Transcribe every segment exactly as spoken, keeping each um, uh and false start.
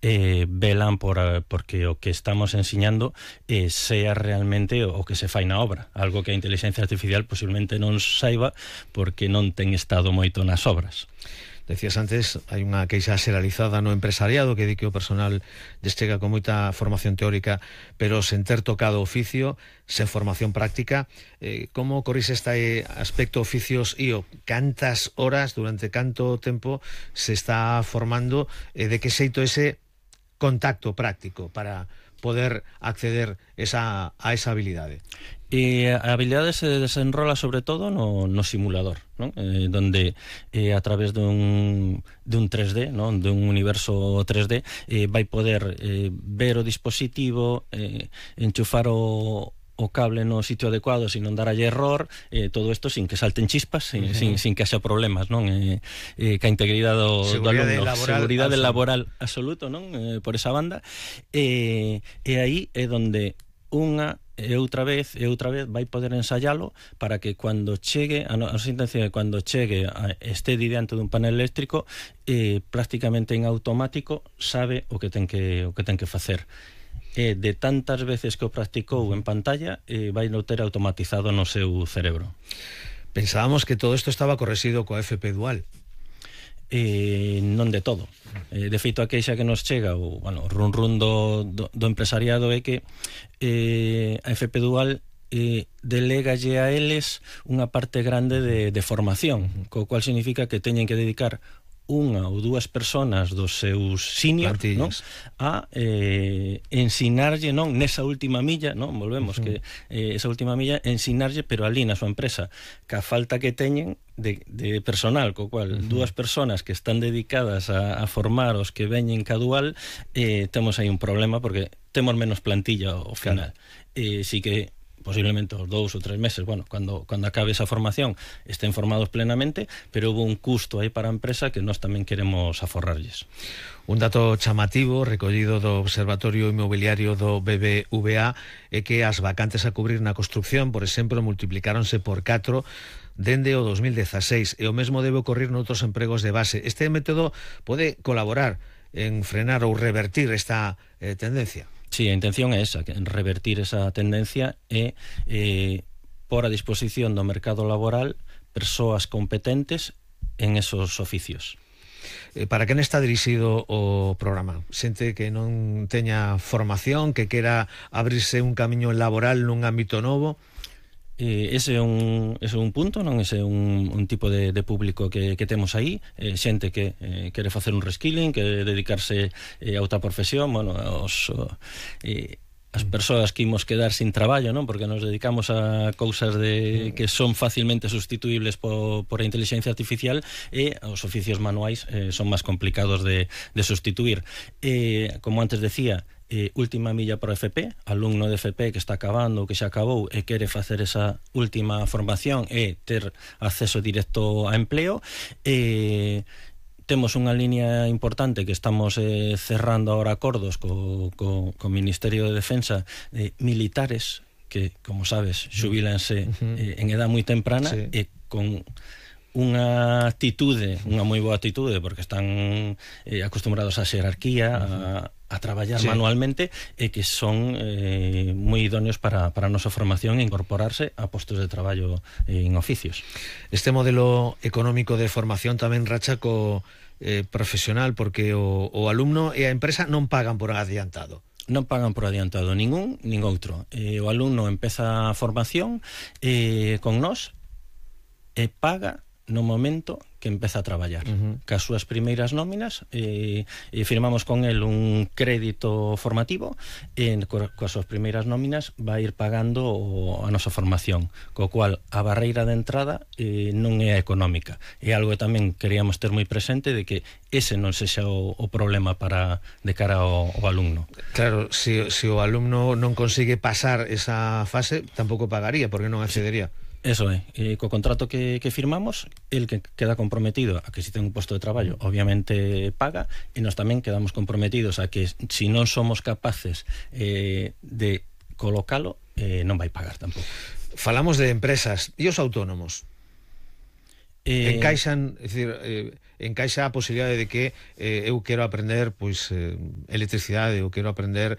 eh, velan por, porque o que estamos ensiñando eh, sea realmente o que se fai na obra, algo que a inteligencia artificial posiblemente non saiba porque non ten estado moito nas obras. Decías antes, hai unha queixa xeralizada no empresariado que di que o personal lles chega con moita formación teórica pero sen ter tocado oficio, sen formación práctica. Eh, como corrige este aspecto oficios e o cantas horas, durante canto tempo se está formando, eh, de que xeito ese contacto práctico para poder acceder esa, a esa habilidade? E a habilidade se desenrola sobre todo no, no simulador, ¿no? Eh, donde eh, a través dun, dun tres D, ¿no? Dun universo tres D, eh, vai poder eh, ver o dispositivo, eh, enchufar o o cable no sitio adecuado sin non daralle error, eh, todo isto sin que salten chispas, sin, uh-huh. sin, sin que haxa problemas, non? Eh, eh, ca integridade do, do alumno, laboral, seguridade laboral absoluto, non? Eh, por esa banda, eh, e aí é donde unha e outra vez e outra vez vai poder ensayalo para que cando chegue, a nosa intención é cando chegue a, este diante dun panel eléctrico, eh, prácticamente en automático sabe o que ten que o que ten que facer. E de tantas veces que o practicou en pantalla, eh, vai no ter automatizado no seu cerebro. Pensábamos que todo isto estaba correxido coa F P dual. Eh, non de todo. Eh, de feito, a queixa que nos chega, o bueno, run run do, do, do empresariado é que eh, a F P dual eh, delegalle a eles unha parte grande de, de formación, co cual significa que teñen que dedicar unha ou dúas personas dos seus seniors, non? A eh, ensinarlle, non, nesa última milla, non? Volvemos, uh-huh. que eh, esa última milla ensinarlle, pero ali na súa empresa, que a falta que teñen de, de personal, co cual uh-huh. dúas personas que están dedicadas a, a formar os que veñen ca dual, eh, temos aí un problema porque temos menos plantilla ao final. Claro. Eh, si que posiblemente os dous ou tres meses, bueno, cando, cando acabe esa formación estén formados plenamente, pero houve un custo aí para a empresa que nós tamén queremos aforrarlles. Un dato chamativo recollido do Observatorio Inmobiliario do B B V A é que as vacantes a cubrir na construcción, por exemplo, multiplicáronse por catro dende o dos mil dezaseis, e o mesmo debe ocorrer noutros empregos de base. Este método pode colaborar en frenar ou revertir esta eh, tendencia? Sí, a intención é esa, en revertir esa tendencia e eh, por a disposición do mercado laboral persoas competentes en esos oficios. Eh, para quen está dirixido o programa? Xente que non teña formación, que quera abrirse un camiño laboral nun ámbito novo? Eh, ese é un, ese é un punto, non? Ese é un, un tipo de, de público que, que temos aí, eh, xente que eh, quere facer un reskilling, que dedicarse eh, a outra profesión, bueno, os, eh, as persoas que imos quedar sin traballo, non? Porque nos dedicamos a cousas de, que son facilmente sustituibles por, por a inteligencia artificial, e os oficios manuais eh, son máis complicados de, de sustituir. Eh, como antes decía, Eh, última milla para o F P, alumno de F P que está acabando ou que xa acabou e quere facer esa última formación e ter acceso directo a empleo. Eh, temos unha línea importante que estamos eh, cerrando ahora acordos co, co, co Ministerio de Defensa, eh, militares que, como sabes, xubílanse eh, en edad moi temprana, sí. E con unha actitude, unha moi boa actitude, porque están eh, acostumbrados á xerarquía, a, a traballar sí. manualmente, e que son eh, moi idóneos para, para a nosa formación e incorporarse a postos de traballo eh, en oficios. Este modelo económico de formación tamén racha co eh, profesional, porque o, o alumno e a empresa non pagan por adiantado. Non pagan por adiantado ningún, nin outro. Eh, o alumno empeza a formación eh, con nós e paga no momento que empeza a traballar. Uh-huh. Cas súas primeiras nóminas e, e firmamos con el un crédito formativo, e coas súas primeiras nóminas vai ir pagando o, a nosa formación, co cual a barreira de entrada eh, non é económica. É algo que tamén queríamos ter moi presente, de que ese non sexa o, o problema para de cara ao, ao alumno. Claro, se si, si o alumno non consigue pasar esa fase, tampouco pagaría, porque non accedería. Eso é, e co contrato que, que firmamos, el que queda comprometido a que si ten un posto de traballo, obviamente paga, e nós tamén quedamos comprometidos a que si non somos capaces eh, de colocalo, eh, non vai pagar tampouco. Falamos de empresas, e os autónomos? Eh... Encaixan, é dicir, eh, encaixa a posibilidade de que eh, eu quero aprender pois eh, electricidade, eu quero aprender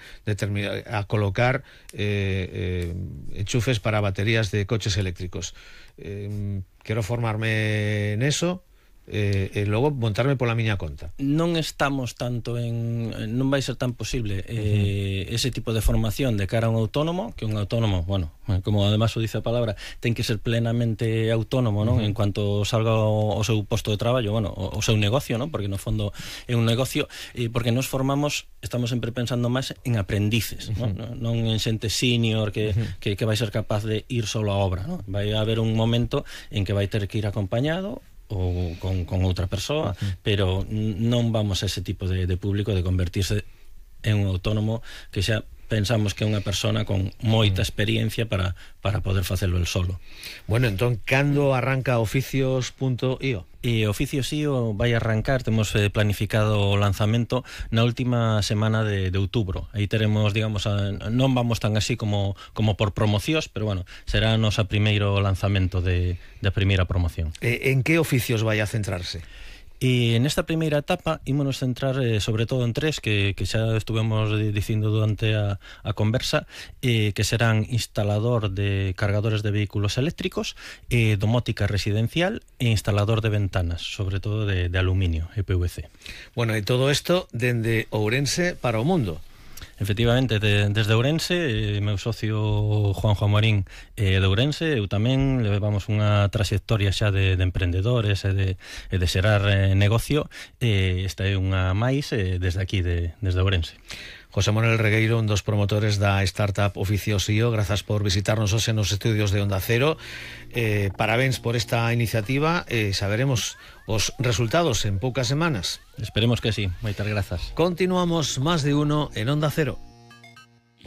a colocar eh, eh, enchufes para baterías de coches eléctricos. Eh, quero formarme neso, Eh, e logo montarme pola miña conta. Non estamos tanto en... non vai ser tan posible eh, uh-huh. ese tipo de formación de cara a un autónomo, que un autónomo, bueno, como además o dice a palabra, ten que ser plenamente autónomo, non? Uh-huh. En cuanto salga o, o seu posto de traballo, bueno, o, o seu negocio, non? Porque no fondo é un negocio, eh, porque nos formamos, estamos sempre pensando máis en aprendices, uh-huh. non? Non en xente senior que, uh-huh. que, que vai ser capaz de ir solo á obra, non? Vai haber un momento en que vai ter que ir acompañado ou con, con outra persoa, uh-huh. pero non vamos a ese tipo de, de público de convertirse en un autónomo que xa pensamos que é unha persona con moita experiencia para, para poder facelo el solo. Bueno, entón, cando arranca oficios punto i o? E Oficios punto i o vai arrancar, temos eh, planificado o lanzamento na última semana de, de outubro. Aí teremos, digamos, a, non vamos tan así como, como por promocións, pero bueno, será o noso primeiro lanzamento de, de primeira promoción. E, en que oficios vai a centrarse? E nesta primeira etapa ímonos centrar eh, sobre todo en tres que, que xa estuvemos dicindo durante a, a conversa, eh, que serán instalador de cargadores de vehículos eléctricos, eh, domótica residencial e instalador de ventanas, sobre todo de, de aluminio e P V C. Bueno, e todo isto dende Ourense para o mundo. Efectivamente, de, desde Ourense, eh, meu socio Juanjo Amorín eh, de Ourense, eu tamén levamos unha trayectoria xa de, de emprendedores e de, de xerar eh, negocio, e eh, esta é unha máis eh, desde aquí, de, desde Ourense. José Manuel Regueiro, un dos promotores da startup Oficios punto i o, grazas por visitarnos hoxe nos estudios de Onda Cero. Eh, parabéns por esta iniciativa, e eh, saberemos os resultados en poucas semanas. Esperemos que sí. Moitas grazas. Continuamos Más de Uno en Onda Cero.